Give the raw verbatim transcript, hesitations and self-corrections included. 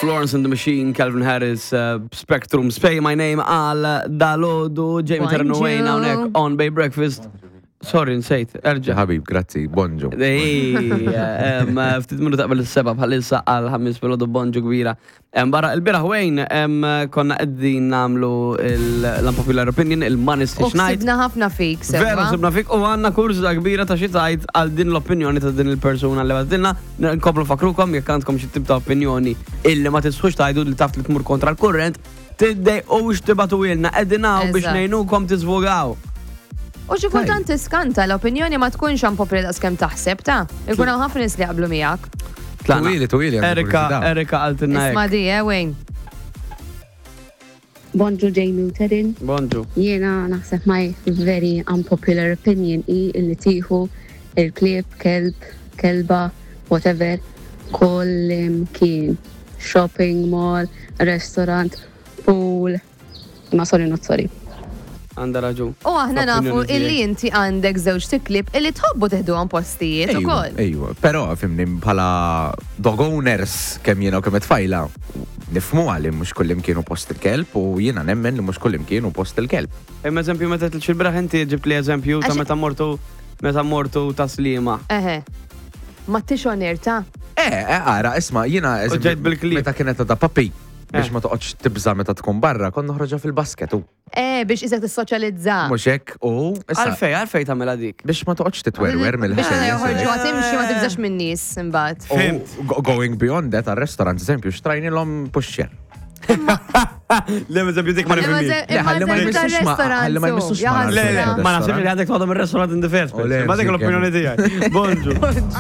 Florence and the Machine, Calvin Harris, uh, Spectrum, Say My Name għal dalgħodu, Jamie Bonġu. Ternu Wayne hawnhekk on Bay Breakfast. Sorry, nsejt, erġa. Ħabib, grazzi, bonġu. Ej, em, ftit minuta qabel is-seba bħalissa għal ħamis filgħodu, bonġu kbira. Em, Barra il-bieraħ, Wayne, em, konna qegħdin nagħmlu l-unpopular opinion, il-Money U Stitch Night. ksibna ħafna fik, Veru, sewwa. sibna fik u għandna kurżità kbira ta' xi tgħid għal din l-opinjoni ta' din il-persuna li bagħtilna. Nkomplu nfakkrukom jekk għandkom xi tip ta' opinjoni illi ma tistħux tgħidu, li taf li tmur kontra l-kurrent, tiddejqux tibagħtuhielna, qegħdin hawn biex Eżatt. ngħinukom tiżvogaw. U xi kultant tiskanta, l-opinjoni ma tkunx unpopular daqs kemm taħseb ta' ikun hawn ħafna nies li jaqblu miegħek. Tlaqna. Twili, twili, għandi Erika, kurżità. Erika qaltilna Isma' hekk. di, eh, Wayne. Bonġu, Jamie u Terin. Bonġu. Jiena naħseb my very unpopular opinion i illi tieħu il-klieb, kelb, kelba, whatever, kullimkien. Shopping mall, restaurant, pool. Ma sorry, not sorry. Għandha raġun. U aħna nafu L-opinjoni illi tiegħek. inti għandek żewġ klieb illi tħobbu teħduhom postijiet Ejwa, ukoll. ejwa, però fhimni, bħala dog owners, kemm jiena u kemm it-tfajla, nifhmu għalli mhux kullimkien hu post il-kelb u jiena nemmen li mhux kullimkien hu post il-kelb. Imma eżempju meta il-bieraħ inti ġibt li eżempju ta' Għax- meta mortu meta mortu ta' Sliema. Eħe. Ma tix onir ta' Eh, eh, ara, isma', jiena eżempju, ġejt bil-klieb. meta kienet ta' puppy, biex Eh. ma toqgħodx tibża meta tkun barra, kont noħroġha fil-basket u Eh, biex isek tissoċjalizza. mhux hekk u issa Għalfej, għalfej tagħmilha dik. Biex ma toqgħodx titwerwer Biex mill-ħsejjes. joħorġu timxi, ma tibżax minn nies imbagħad. U go- going beyond that, għal-restaurant, eżempju, xtrajnilhom pushchair. Le, eżempju dik ma Imma nifhimx. ze- Le, imma ħalli ma eżempju jmissux ma- tar-restaurant, ħalli ma su, jmissux ma' jaħasra. Le, le, ma naħsibx li għandek toħodhom il-restaurant in the first place. U le, Ma dik l-opinjoni tiegħi. Bonġu.